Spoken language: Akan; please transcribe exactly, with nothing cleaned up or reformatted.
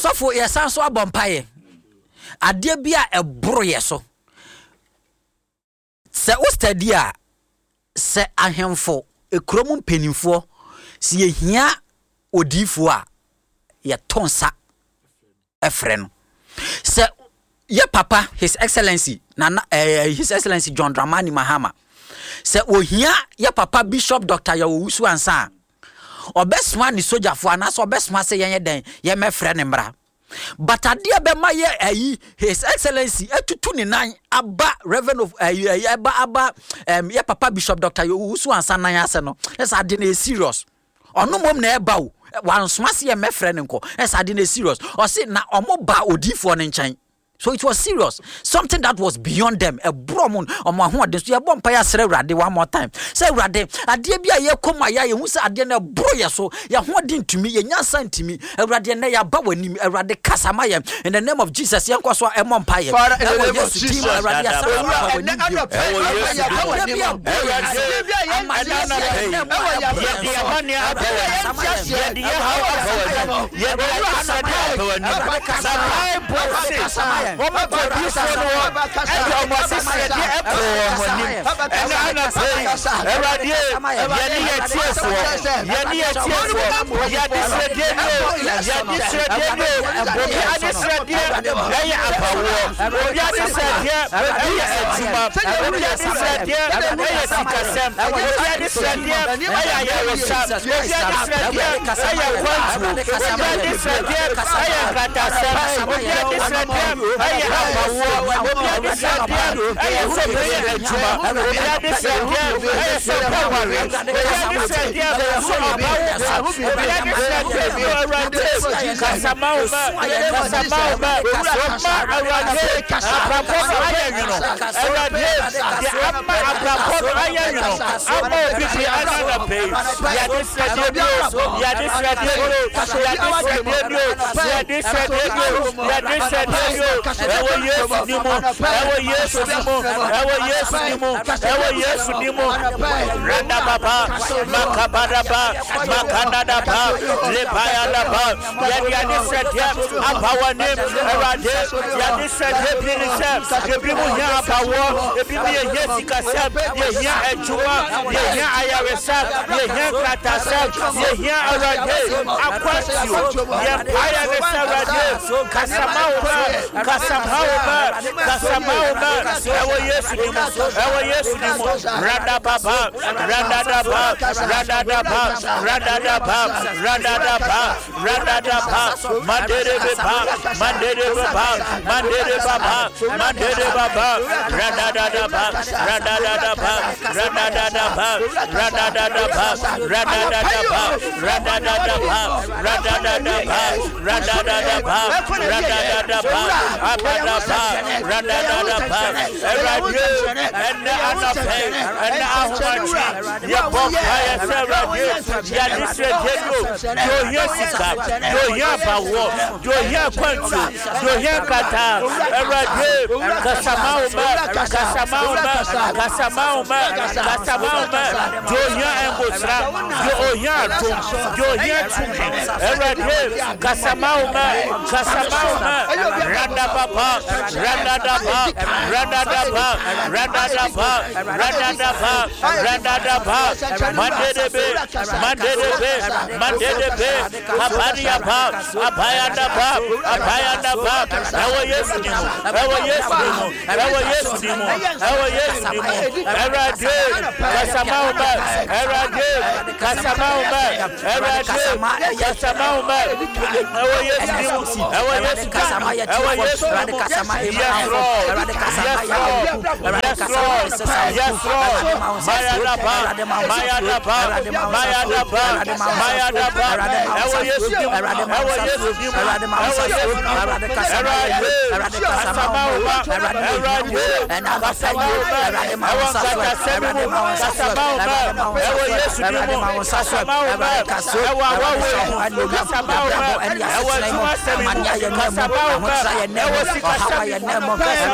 Sɔfo, yɛsan so abɔ mpaeɛ. Adeɛ bi a ɛboro yɛ so sɛ wo study a, sɛ ahemfo, ekurom mpanimfoɔ, sɛ yɛhia odiifoɔ a, yɛto nsa ɛfrɛ no. Sɛ yɛ papa, His Excellency Nana eh, His Excellency John Dramani Mahama, sɛ ohia yɛ papa Bishop Doctor Yaw Owusu Ansa a, ɔbɛsoma ne sogyafoɔ anaasɛ ɔbɛsoma sɛ yɛnyɛ dɛn, yɛmɛfrɛ ne mmra. But adeɛ bɛma yɛ ayi His Excellency atutu ne nan aba Reverend of ayi ayi ɛba aba ɛm yɛ papa Bishop Doctor Yaw Owusu Ansa nan ase no, ɛsɛ ade no yɛ serious. Ɔno mmom na ɛba o, wansoma se yɛ mɛfrɛ ne nkɔ. Ɛsɛ ade no yɛ serious. Ɔse na ɔmo ba odiifoɔ no nkyɛn, so it was serious, something that was beyond them. Ɛborɔ ɔmo ɔmo ahoɔden so. Yɛbɔ mpa yɛ asrɛ Awurade one more time sɛ, Awurade, adeɛ bi a yɛkɔ mu a yɛ yɛhu sɛ adeɛ no ɛborɔ yɛ so, yɛn ahoɔden ntumi, yɛn nyansa ntumi, Awurade, ɛnɛ yɛaba w'anim. Awurade, kasa ma yɛn in the name of Jesus. Yɛnkɔ so a ɛmɔ mpa yɛ. Father, in the ɛwɔ name of Yesu din mu. Jesus. Awurade, yɛsan Owura, aba ɛnɛ w'anim bio. anɔpa yi, Ɛwɔ Yesu yɛaba din mu. w'anim. Adeɛ bi a ɛborɔ yɛn Adeɛ bi a yɛnte Adeɛ bi a aseɛ ɛnɛ mu ɛwɔ a yɛn ɛborɔ abrabɔ yɛn so. Yɛde yɛn Adeɛ bi a yɛnte aseɛ Yɛde yɛn haw ɛwɔ aba yɛn w'anim. abrabɔ. Yɛde Owura, yɛn anɔpa aba yi, w'anim. kasa, Na Bible se, kasa, wɔn kɔ odiyifoɔ no hɔ, ɛde wɔn adesrɛdeɛ ɛkɔɔ wɔn anim. Ɛnɛ anɔpa yi, Awurade, yɛne yɛn tiefoɔ, yɛne yɛn tiefoɔ, yɛde srɛdeɛ ni o, yɛde srɛdeɛ ni o. Obi adesrɛdeɛ ɛyɛ abawoɔ, obi adesrɛdeɛ ɛyɛ adwuma, obi adesrɛdeɛ ɛyɛ sikasɛm, obi adesrɛdeɛ ɛyɛ ayaresa, obi adesrɛdeɛ ɛyɛ kwantuo, obi adesrɛdeɛ ɛyɛ nkratasɛm, obi adesrɛdeɛ ɛyɛ abawoɔ, obi adesrɛdeɛ ɛyɛ sɛ ɔbɛyɛ adwuma, obi adesrɛdeɛ ɛyɛ sɛ ɔbɛware, obi adesrɛdeɛ sɛ ɔbawo ba, obi adesrɛdeɛ sɛ, Awurade, kasama wo ma, kasama wo ma, ɔma Awurade abrabɔ no ayɛ nwono. Awurade, deɛ ama abrabɔ no ayɛ nwono ama obi bi ɛna anɔpa yi, yɛde srɛdeɛ bi o, yɛde srɛdeɛ bi o, yɛde srɛdeɛ bi o, yɛde srɛdeɛ bi o, yɛde srɛdeɛ bi o. Ɛwɔ Yesu din mu, ɛwɔ Yesu din mu, ɛwɔ Yesu din mu, ɛwɔ Yesu din mu. Radababa, makabadaba, makandadaba, lebayadaba. Yɛde ade srɛdeɛ aba w'anim, Awurade. Yɛde srɛdeɛ bi ne sɛ ebi mu hia abawoɔ, ebi mu yɛhia sikasɛm, yɛhia adwuma, yɛhia ayaresa, yɛhia nkratasɛm, yɛhia, Awurade, akwantuo. Yɛmpaeɛ ne sɛ, Awurade, kasama wo ma, kasama wo ma, kasama wo ma. Ɛwɔ Yesu din mu, ɛwɔ Yesu din mu. Radababa, radadaba, radadaba, radadaba, radadaba, radadaba, manderebeba, manderebeba, manderebaba, manderebaba, radadadaba, radadadaba, radadadaba, radadadaba, radadadaba, radadadaba, radadadaba, radadadaba, radadadaba, abadaba, radadadaba. Awurade, ɛnɛ anɔpɛ, ɛnɛ ahomakye, yɛbɔ mpaeɛ sɛ, Awurade, yɛde srɛdeɛ bi o, deɛ ohia sika, deɛ ohia abawoɔ, deɛ ohia akwantuo, deɛ ohia nkrataa, Awurade, kasama wo ma, kasama wo ma, kasama wo ma, kasama wo ma. Deɛ ohia ngosra, deɛ ohia adom, deɛ ohia tumi, Awurade, kasama wo ma, kasama wo ma. Radababa, radadaba, radadaba, radadaba, radadaba, radadaba, mandedebe, mandedebe, mandedebe, kabariaba, abayadaba, abayadaba. Ɛwɔ Yesu din mu, ɛwɔ Yesu din mu, ɛwɔ Yesu din mu, ɛwɔ Yesu din mu. Awurade, kasama wo ma. Awurade, kasama wo ma. Awurade, kasama wo ma. Ɛwɔ Yesu din mu, ɛwɔ Yesu din mu, ɛwɔ Yesu din mu. Yes Lord, yes Lord, yes Lord, yes Lord. Mayadaba, mayadaba, mayadaba, mayadaba. Ɛwɔ Yesu din mu, ɛwɔ Yesu din mu, ɛwɔ Yesu din mu. Awurade, kasama wo ma. Awurade, kasama wo ma. Ɛwɔ nkatasɛm mu, kasama wo ma. Ɛwɔ Yesu din mu, kasama wo ma. Ɛwɔ awawo mu, kasama wo ma. Ɛwɔ adwumasɛm mu, kasama wo ma. Ɛwɔ sikasɛm mu.